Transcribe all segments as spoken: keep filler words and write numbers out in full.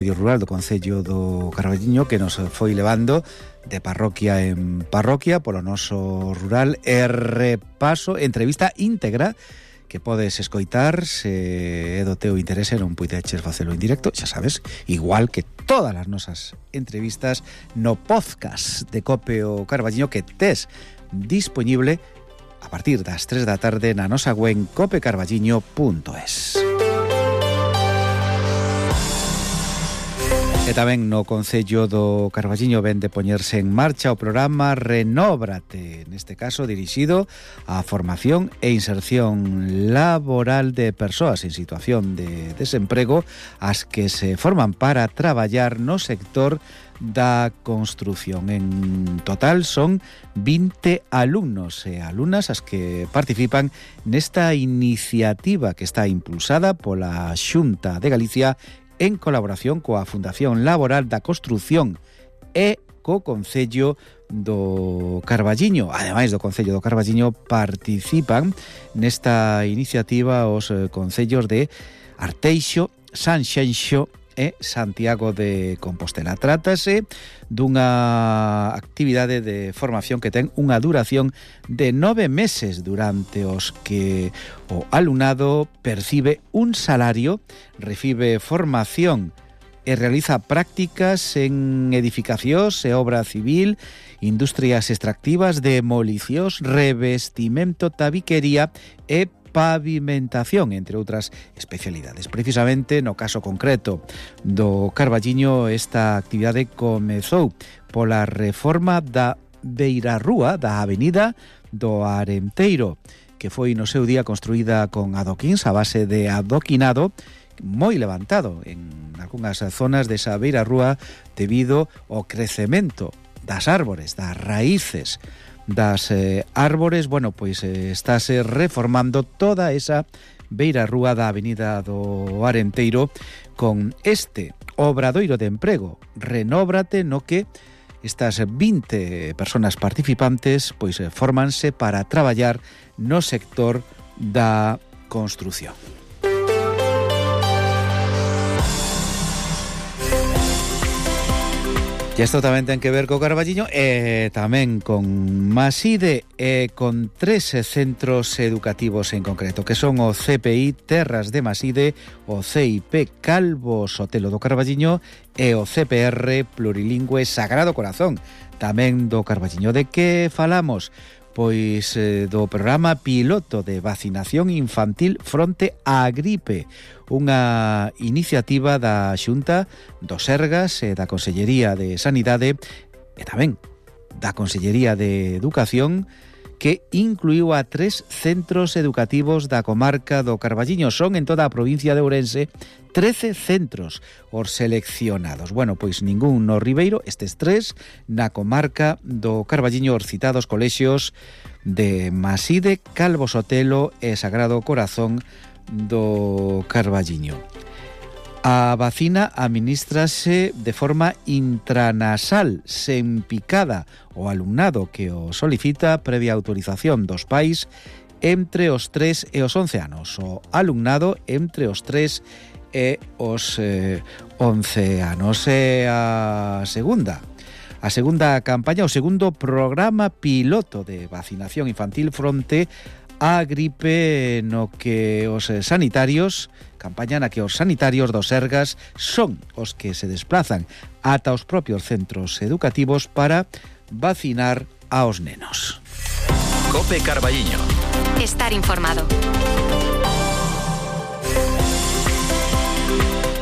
medio rural do Concello do Carballiño, que nos foi levando de parroquia en parroquia polo noso rural e repaso, entrevista íntegra que podes escoitar se é do teu interese, non puideches facelo en directo, xa sabes, igual que todas as nosas entrevistas no podcast de Cope o Carballiño que tes disponible a partir das tres da tarde na nosa web cope carballiño punto es. E tamén no Concello do Carballiño ven de poñerse en marcha o programa Renóbrate, neste caso dirixido á formación e inserción laboral de persoas en situación de desemprego, as que se forman para traballar no sector da construción. En total son vinte alumnos e alumnas as que participan nesta iniciativa que está impulsada pola Xunta de Galicia en colaboración coa Fundación Laboral da Construción e co Concello do Carballiño. Ademais do Concello do Carballiño participan nesta iniciativa os concellos de Arteixo, Sanxenxo e Santiago de Compostela. Trátase dunha actividade de formación que ten unha duración de nove meses durante os que o alumnado percibe un salario, recibe formación e realiza prácticas en edificacións e obra civil, industrias extractivas, demolicións, revestimento, tabiquería e pavimentación, entre outras especialidades. Precisamente no caso concreto do Carballiño, esta actividade comezou pola reforma da beirarrúa da avenida do Arenteiro, que foi no seu día construída con adoquíns a base de adoquinado moi levantado en algunhas zonas desa beirarrúa debido ao crecemento das árbores, das raíces das eh, árbores. Bueno, pois eh, estáse reformando toda esa beirarrúa da avenida do Arenteiro con este obradoiro de emprego Renóbrate, no que estas vinte personas participantes pois eh, fórmanse para traballar no sector da construción. E isto tamén ten que ver co Carballiño e tamén con Maside e con tres centros educativos en concreto, que son o C P I Terras de Maside, o C I P Calvo Sotelo do Carballiño e o C P R Plurilingüe Sagrado Corazón, tamén do Carballiño. De que falamos? Pois eh, do programa piloto de vacinación infantil fronte á gripe, unha iniciativa da Xunta do Sergas e da Consellería de Sanidade e tamén da Consellería de Educación, que incluiu a tres centros educativos da comarca do Carballiño. Son en toda a provincia de Ourense trece centros os seleccionados. Bueno, pois ningún no Ribeiro, estes tres na comarca do Carballiño, os citados colexios de Maside, Calvo Sotelo e Sagrado Corazón do Carballiño. A vacina administrase de forma intranasal, sen picada, o alumnado que o solicita previa autorización dos pais entre os tres e os once anos. O alumnado entre os tres e os eh, once anos. E a segunda, a segunda campaña, o segundo programa piloto de vacinación infantil fronte a gripe, no que os sanitarios, campaña na que os sanitarios dos Sergas son os que se desplazan ata os propios centros educativos para vacinar aos nenos. Cope Carballiño. Estar informado.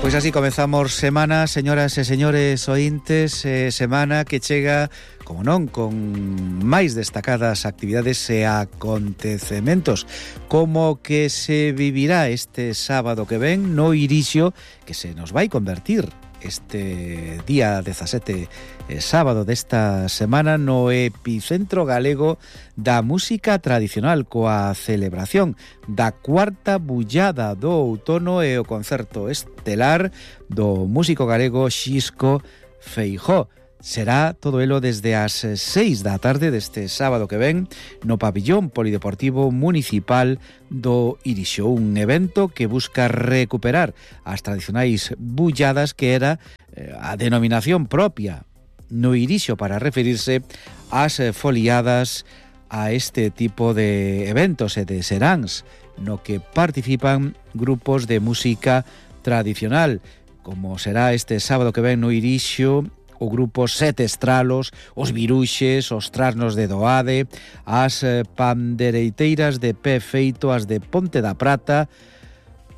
Pois así comezamos semana, señoras e señores ointes, eh, semana que chega, como non, con máis destacadas actividades e acontecementos, como que se vivirá este sábado que ven no Irixio, que se nos vai convertir este día dezasete, eh, sábado desta semana, no epicentro galego da música tradicional, coa celebración da cuarta bullada do outono e o concerto estelar do músico galego Xisco Feijó. será todo elo desde as seis da tarde deste sábado que ven no pabillón polideportivo municipal do Irixo, un evento que busca recuperar as tradicionais bulladas que era eh, a denominación propia no Irixo para referirse ás foliadas a este tipo de eventos e de seráns no que participan grupos de música tradicional, como será este sábado que ven no Irixo o grupo Sete Estralos, os Viruxes, os Trasnos de Doade, as pandereiteiras de pé feito, as de Ponte da Prata,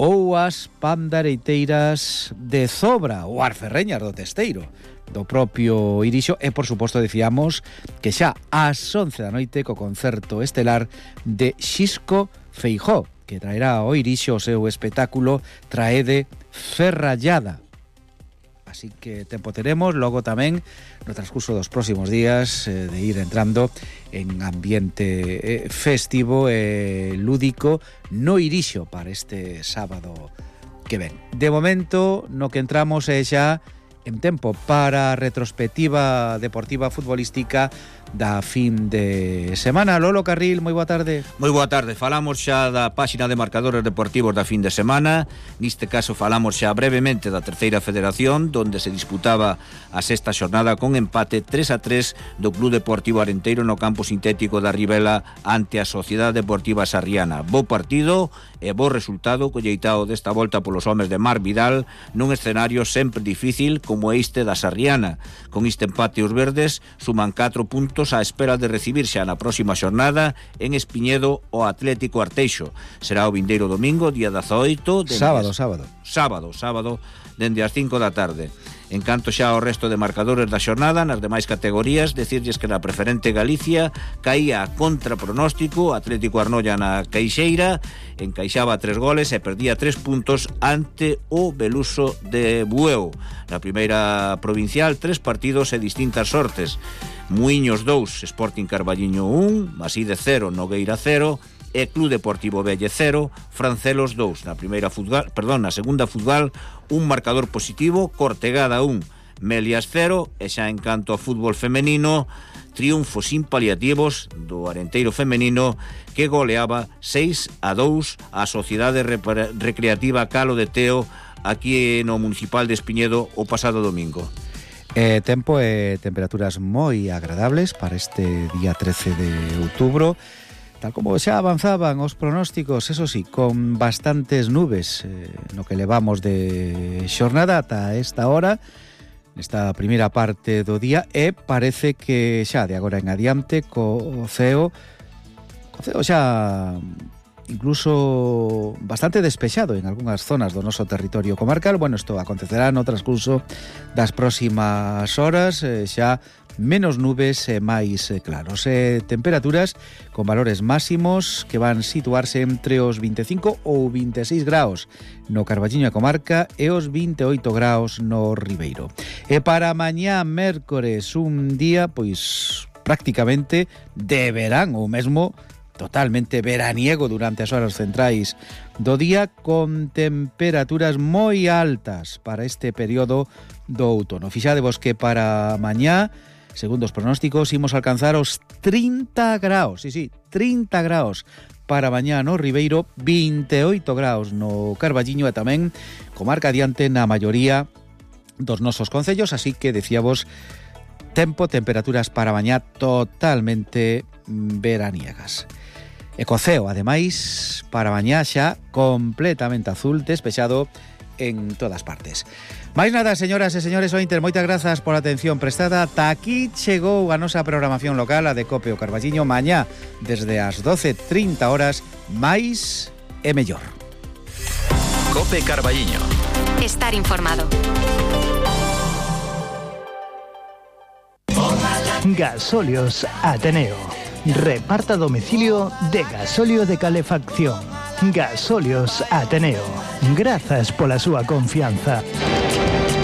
ou as pandereiteiras de Zobra, ou as ferreñas do Testeiro, do propio Irixo, e por suposto decíamos que xa ás once da noite co concerto estelar de Xisco Feijó, que traerá ao Irixo o seu espectáculo Traede Ferrallada. Así que tempo teremos, logo tamén no transcurso dos próximos días eh, de ir entrando en ambiente eh, festivo e eh, lúdico no Irixo para este sábado que ven. De momento, no que entramos é xa en tempo para a retrospectiva deportiva futbolística da fin de semana. Lolo Carril, moi boa tarde. Moi boa tarde, falamos xa da páxina de marcadores deportivos da fin de semana. Neste caso falamos xa brevemente da terceira federación, donde se disputaba a sexta xornada con empate tres a tres do Club Deportivo Arenteiro no campo sintético da Ribela ante a Sociedade Deportiva Sarriana. Bo partido e bo resultado colleitado desta volta polos homes de Mar Vidal nun escenario sempre difícil como este da Sarriana. Con este empate os verdes suman catro puntos á espera de recibir xa na próxima xornada en Espiñedo o Atlético Arteixo. Será o vindeiro domingo, día dezaoito, sábado, sábado. Sábado, sábado, dende as cinco da tarde. En canto xa ao resto de marcadores da xornada, nas demais categorías, decirlles que na preferente Galicia caía a contra pronóstico Atlético Arnoia na Caixeira, encaixaba tres goles e perdía tres puntos ante o Beluso de Bueu. Na primeira provincial, tres partidos e distintas sortes. Muiños dous, Sporting Carballiño un, Maside cero, Nogueira cero, e Club Deportivo Velle cero, Francelos dous. Na primeira futbol, perdón, na segunda futbol, un marcador positivo, Cortegada un, Melias cero, e xa en canto a fútbol femenino, triunfo sin paliativos do Arenteiro femenino que goleaba seis a dous a Sociedade Recreativa Calo de Teo aquí no Municipal de Espiñedo o pasado domingo. Eh, tempo e temperaturas moi agradables para este día trece de outubro, tal como xa avanzaban os pronósticos, eso sí, con bastantes nubes eh, no que levamos de xornada ata esta hora, nesta primeira parte do día, e parece que xa de agora en adiante co ceo, co ceo xa incluso bastante despexado en algunhas zonas do noso territorio comarcal. Bueno, isto acontecerá no transcurso das próximas horas, eh, xa menos nubes e máis eh, claros. E temperaturas con valores máximos que van situarse entre os vinte e cinco ou vinte e seis graus no Carballiño e comarca e os vinte e oito graus no Ribeiro. E para mañá mércores, un día pois prácticamente de verán ou mesmo totalmente veraniego durante as horas centrais do día, con temperaturas moi altas para este período do outono. Fixadevos que para mañá, segundo os pronósticos, imos alcanzar os trinta graus, sí, sí, trinta graus para mañá no Ribeiro, vinte e oito graus no Carballiño e tamén comarca adiante na maioría dos nosos concellos, así que decíamos tempo, temperaturas para mañá totalmente veraniegas. E co ceo, ademais, para mañá xa completamente azul, despexado en todas partes. Mais nada, señoras e señores ointes, moitas grazas pola atención prestada. Ata aquí chegou a nosa programación local, a de Cope o Carballiño, mañá desde as doce e trinta horas, máis e mellor. Cope Carballiño. Estar informado. Gasóleos Ateneo. Reparta domicilio de gasóleo de calefacción. Gasóleos Ateneo. Grazas pola súa confianza.